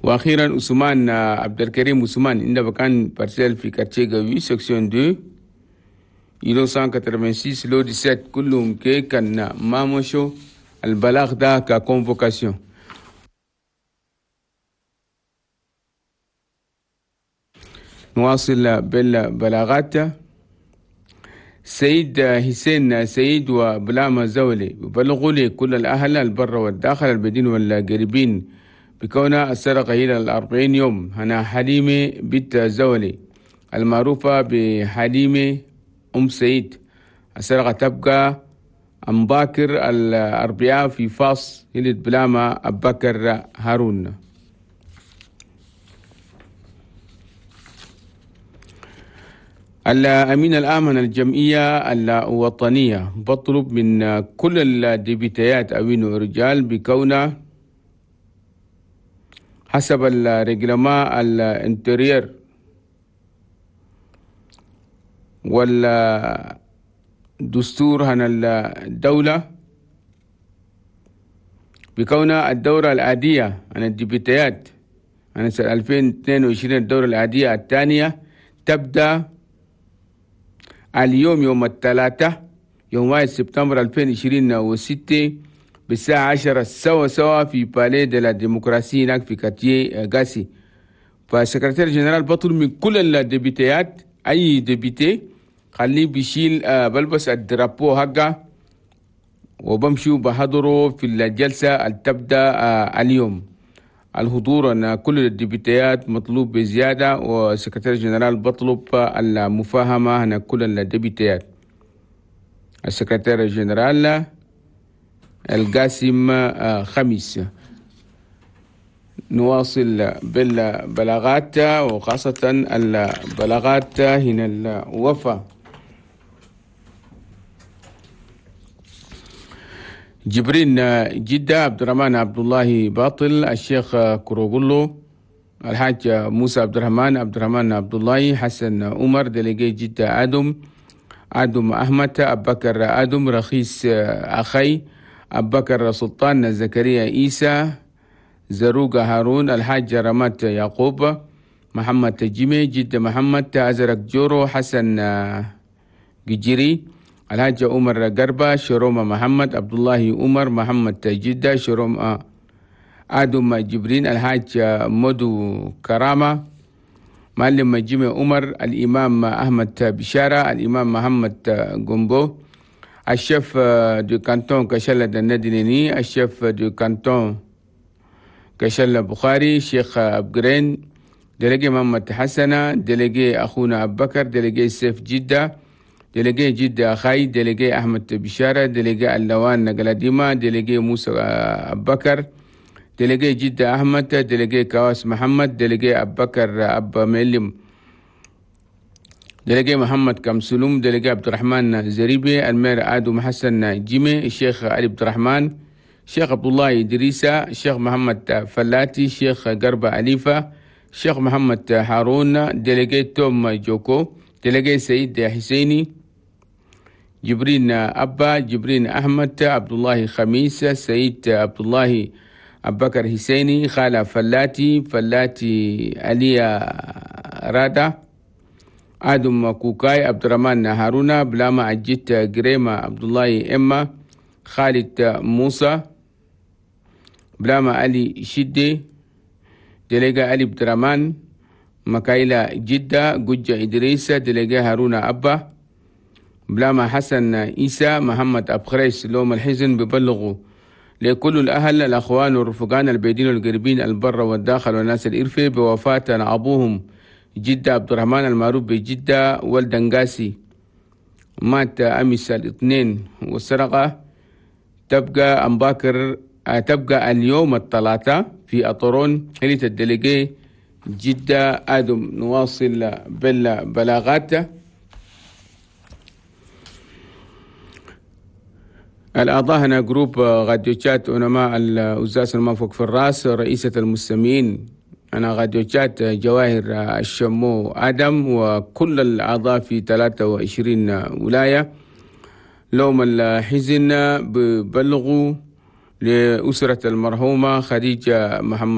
واخيرا عثمان عبد الكريم عثمان عنده بكان parcelle في quartier Gaoui section 2 îlot 186 lot 17، كلهم كي كان ما مشوا البلاغ ده ك convocation. نواصل بالبلاغات. سيد حسين سيد وبلاما زولي بلغوا لي كل الأهل البر والداخل البدين والقريبين بكون السرقة إلى 40 يوم هنا حليمة بنت زولي المعروفة بحليمة أم سيد. السرقة تبقى أم باكر الأربعاء في فاس هلت بلاما أبكر هارون. الأمين الآمن الجمعية الوطنية بطلب من كل الديبيتيات أوين رجال بكون حسب ال règlement ال intérieur والدستور هنا الدولة بكون الدورة العادية عن الديبيتيات عن سنة 2022 الدورة العادية الثانية تبدأ اليوم يوم الثلاثاء يوم 1 سبتمبر 2026 بالساعة 10 سوا سوا في palais de la démocratie هناك في quartier غاسي. فال secrétaire général بطلب من كل الديبيتيات أي député خليه بيشيل بلبس ال drapeau حقه وبمشوا بحضروا في الجلسة اللي تبدأ اليوم. الحضور أن كل الديبيتيات مطلوب بزيادة، وال secrétaire général بطلب المفاهمة هنا كل الديبيتيات. ال secrétaire général القاسم خميس. نواصل بالبلاغات وخاصة البلاغات هنا الوفا. جبرين جدة عبد الرحمن عبد الله باطل، الشيخ كروغلو، الحاج موسى عبد الرحمن، عبد الرحمن عبد الله، حسن عمر، délégué جدة آدم، آدم أحمد، أبو بكر آدم، رخيص أخي، أبو بكر سلطان، زكريا عيسى، زروق هارون، الحاج رمات يعقوب، محمد جيمي، جدة محمد، أزرق جورو، حسن جيري، الحاج عمر قربة، شرومة محمد، عبد الله عمر، محمد جدة، شرومة آدم جبرين، الحاج مدو كرامة، معلم جيمي عمر، الإمام أحمد بشارة، الإمام محمد جومبو، ال chef de canton كشلة الندنيني، ال chef de canton كشلة بخاري، شيخ أبجرين، délégué محمد حسنة، délégué أخونا أبو بكر، délégué سيف جدة، délégué جدة أخاي، délégué أحمد بشارة، délégué اللوان نقلديما، délégué موسى أبو بكر، délégué جدة أحمد، délégué كواس محمد، délégué أبو بكر أب معلم، délégué محمد كمسلوم، délégué عبد الرحمن زريبي، ال maire آدم حسن جيمي، الشيخ علي عبد الرحمن، الشيخ عبد الله إدريسة، الشيخ محمد فلاتي، الشيخ قربة أليفة، الشيخ محمد هارون، délégué توم جوكو، délégué سيد حسيني، جبرين أبا، جبرين أحمد، عبد الله خميس، سيد عبد الله أبو بكر حسيني، خالة فلاتي، فلاتي عليا رادا، آدم كوكاي، عبد الرحمن هارونا، بلاما عجيت جريمة، عبد الله إما، خالد موسى، بلاما علي شدي، délégué علي عبد الرحمن، مكايلة جدة، جوجة إدريس، délégué هارونا أبا، بلاما حسن إيسى، محمد أبخريس. لوم الحزن ببلغوا لكل الأهل الأخوان والرفقان البعيدين والقريبين البر والداخل والناس الإرفي بوفاة أبوهم جدة عبد الرحمن المعروف بجدة والدنقاسي، مات أمس الاثنين، والسرقة تبقى أمباكر تبقى اليوم الثلاثاء في أطرون حلية ال délégué جدة آدم. نواصل بالبلاغات. الأعضاء هنا groupe radio chat علماء الأزاز المنفوق في الرأس، رئيسة المستمعين أنا radio chat جواهر الشمو آدم، وكل الأعضاء في 23 ولاية. لوم الحزن ببلغوا لأسرة المرحومة خديجة محمد